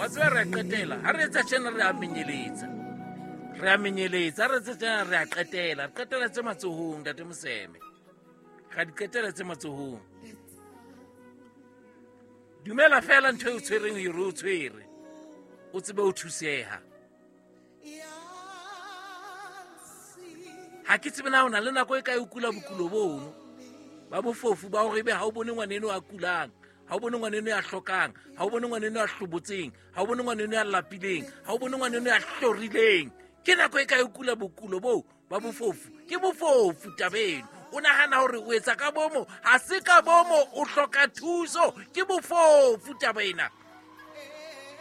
Wa tseba re a qetela ha re etsa tjena, re a menyeletsa, re a menyeletsa. Ha re etsa tjena, re a qetela, re qetela tse matsohong. Ntate Moseme, ra di qetela tse matsohong. Dumela fela ntho e o tshwereng hore o tshwere, o tsebe o thuseha. Ha ke tsebe na o na le nako e kae o kula bokulo bono ba bofofu ba hore ebe ha o bone ngwaneno a kulang, ha o bone ngwaneno ya hlokang, ha o bone ngwaneno ya hlobotseng, ha o bone ngwaneno ya lapileng, ha o bone ngwaneno ya hlorileng. Ke nako e kae o kula bokulo boo ba bofofu? Ke bofofu tabeno. O nahana hore o etsa ka bomo, ha se ka bomo, o hloka thuso. Ke bofofu taba ena.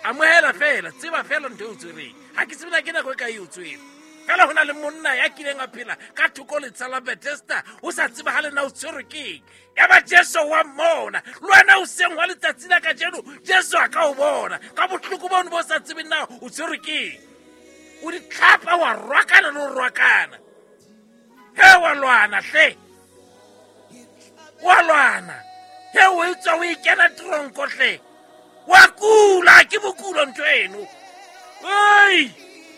Amohela fela, tseba fela ntho e o tshwereng. Ha ke tsebe na ke nako e kae e o tshwere. Fela ho na le monna ya kileng a phela ka thoko letsha la Bethesda, o sa tsebahale na o tshwerwe keng. Ya ba Jesu wa mmona. Le wena o seng wa letsatsi la kajeno, Jesu a ka o bona ka bohloko bono bo sa tsebeng na o tshwerwe keng. O di tlhapa, wa rwakana le ho rwakana. He, wa lwana hle, wa lwana. He, o e tswa o e kena tronko hle, wa kula. Ke bokulo ntho eno. Ei,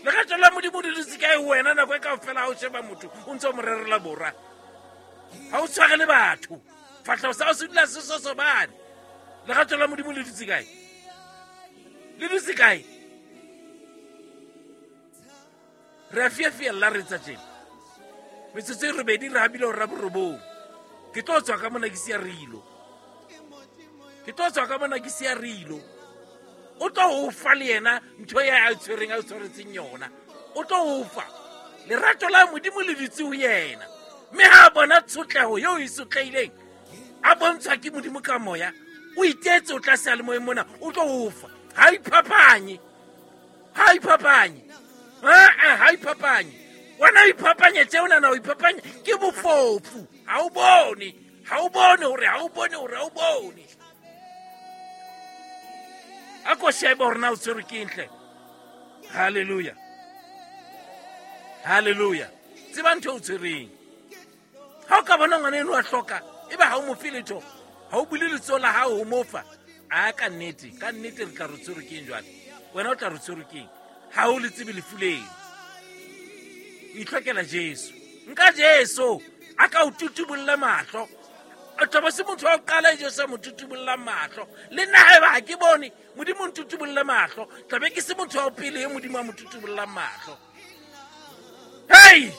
lerato la Modimo le dutse kae ho wena nako e kaofela? Ha o sheba motho, o ntse o mo rerela bora, ha o tshware le batho, fahleho sa hao se dula se sosobane. Lerato la Modimo le dutse kae? Le dutse kae? Re a fiafiella, re etsa tjena. Metsotso e robedi re habile hora borobong. Ke tlo tswa ka mona ke sia rilo, ke tlo tswa ka mona ke sia rilo. O tlo o fa le yena ntho ya a tshwereng, a tshwaretseng yona. O tlo o fa lerato la Modimo le dutse ho yena, mme ha a bona tshotleho eo e sotlehileng, a bontshwa ke Modimo ka moya, o itetse o tla seyalemoyeng mona, o tlo o fa. Ha iphapanye, ha iphapanye, aa, ha iphapanye. Wena o iphapanye tse o nana o iphapanye ke bofofu. Ha o bone, ha o bone hore ha o bone hore ha o bone. A ko shebe hore na o tshwerwe ke eng hle. Halleluja, halleluja. Tseba ntho e o tshwereng. Ha o ka bona ngwana eno a hloka, ebe ha o mo fe letho, ha o bule letsoho la hao ho mo fa. A ka nnete, ka nnete, re tla re tshwerwe ke eng jwale? Wena o tla re tshwerwe ke eng ha o le tsebe lefu leno? O itlhokela Jesu. Nka Jesu a ka o tutubolle mahlo. O tla se motho wa ho qala e Jesu a mo tutubollang mahlo. Le nna haeba ha ke bone, Modimo o ntutubolle mahlo, tlabe ke se motho wa ho pele e Modimo a mo tutubollang mahlo. Hei,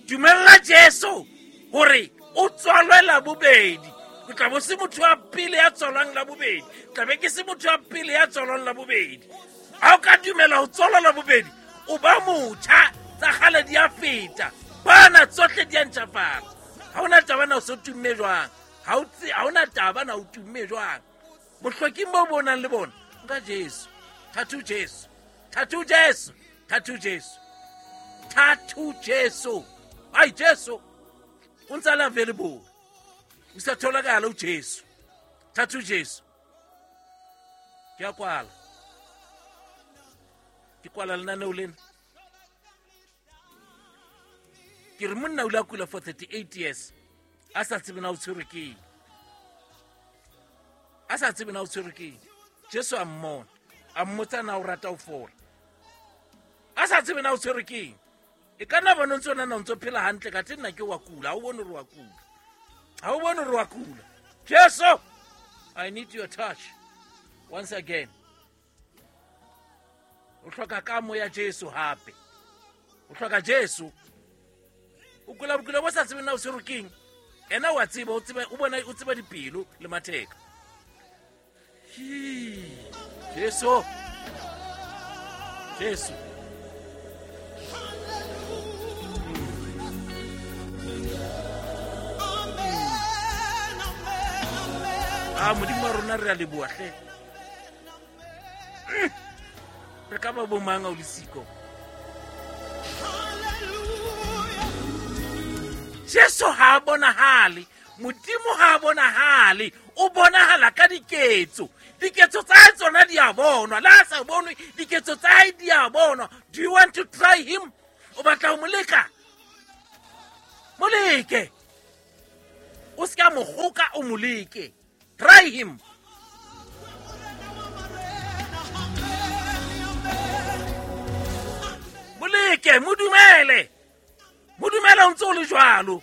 dumella Jesu hore o tswalwe la bobedi. O tla bo se motho wa pele ya tswalwang la bobedi, tlabe ke se motho wa pele ya tswalwang la bobedi. Ha o ka dumela ho tswalwa la bobedi, o ba motjha, tsa kgale di a feta, bana tsohle di a ntjhafala. Ha ona taba na o so tumme jwang, ha ona taba na o tumme jwang. Bohloking bo bo nang le bona, nka Jesu. Thathu Jesu, thathu Jesu, thathu Jesu, thathu Jesu. Ai, Jesu o ntse a le available, o sa tholakala uJesu. Thathu Jesu. Ke a kwala, ke kwala lenaneo lena. Ke re monna o ile a kula for 38 years, a sa tsebe na o tshwerwe ke eng, a sa tsebe na o tshwerwe ke eng. Jesu a mmona, a mmotsa na o rata ho fola, a sa tsebe na o tshwerwe ke eng. E ka nna bona o ntse o nana o ntse o phela hantle, kathe nna ke wa kula. Ha o bone hore wa kula, ha o bone hore wa kula. Jesu, I need your touch once again. O hloka kamo ya Jesu hape, o hloka Jesu. O kula bokula bo sa tsebeng na o tshwerwe ke eng. Ena wa tseba, o tseba, o bona, o tseba dipelo le matheka. Hii, Jesu, Jesu. A Modimo wa rona, re a leboha hle. Re ka ba bomang a o le siko? Jesu ha a bonahale, Modimo ha a bonahale, o bonahala ka diketso. Diketso tsa hae tsona di a bonwa, le ha sa bonwe, diketso tsa hae di a bonwa. Do you want to try him? O batla ho mo leka? Mo leke, o se ka mo kgoka, o mo leke. Try him. Mo leke, mo dumele, mo dumele o ntse o le jwalo.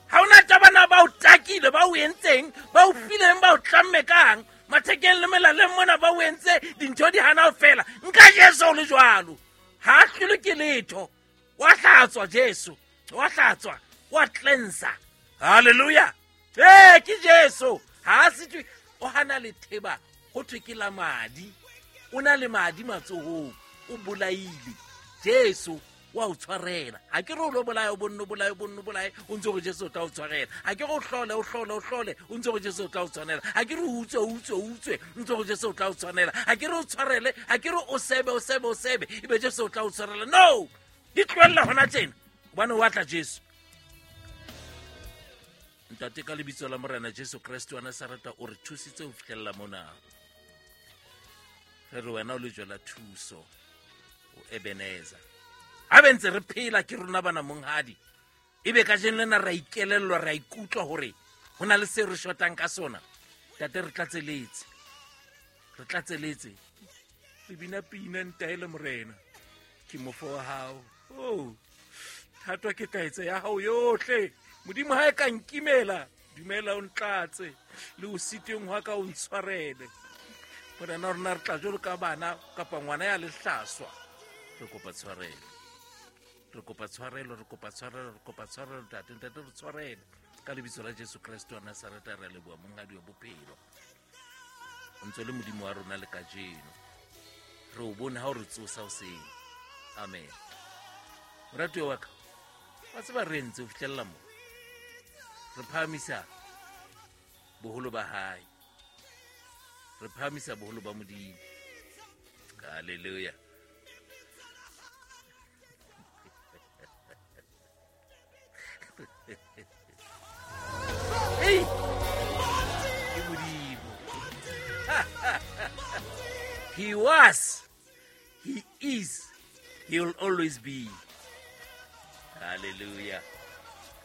Ha ona tabana ba o takile, ba o entseng, ba o fileng, ba o tlamme kang mathekeng le melaleng mona, ba o entse dintho di hana ho fela. Nka Jesu o le jwalo, ha a hlolwe ke letho. Wa hlatswa Jesu, wa hlatswa, wa cleansa. Halleluja! Ee, ke Jesu, ha a setswe o hana letheba, ho thwe ke la madi. O na le madi matsohong, o bolaile. Jesu wa o tshwarela. Ha ke re o lo bolaya, o bonne o bolaye, o bonne o bolaye, o ntse gore Jesu o tla o tshwarela. Ha ke re o hlole, o hlole, o hlole, o ntse gore Jesu o tla o tshwanela. Ha ke re o utswe, o utswe, o utswe, o ntse gore Jesu o tla o tshwanela. Ha ke re o tshwarele, ha ke re o sebe, o sebe, o sebe, ebe Jesu o tla o tshwarela. No, di tlohella hona tjena, hobane o atla Jesu. Ntate, ka lebitso la Morena Jesu Kreste wa Nasareta, o re thusitse ho fihlella mona. Re re wena o lejwe la thuso, o Ebeneza. Ha be ntse re phela ke rona bana, monghadi, ebe kajeno lena ra ikelellwa, ra ikutlwa hore ho na le se re shotang ka sona. Tate, re tlatseletse, re tlatseletse. Re bina pina, ntaele Morena, ke mofo wa hao. Oh, thatwa ke taetsa ya hao yohle. Modimo, ha e ka nkimela, dumela o ntlatse, le o siteng hwa ka o ntshwarele. Morena, rona re tla jwalo ka bana kapa ngwana ya lehlaswa. Re kopa tshwarelo, re kopa tshwarelo, re kopa tshwarelo, re kopa tshwarelo, ntate. Ntate, re tshwarele ka lebitso la Jesu Kreste wa Nasareta. Re a leboha, monghadi wa bophelo. O ntse le Modimo wa rona le kajeno. Re o bone ha o re tsosa hoseng. Amen. Moratuwa wa ka, wa tseba re entse ho fihlella mo re phahamisa boholo ba hae, re phahamisa boholo ba Modimo. Halleluja! Ei, ke Modimo. He was, he is, he will always be. Hallelujah.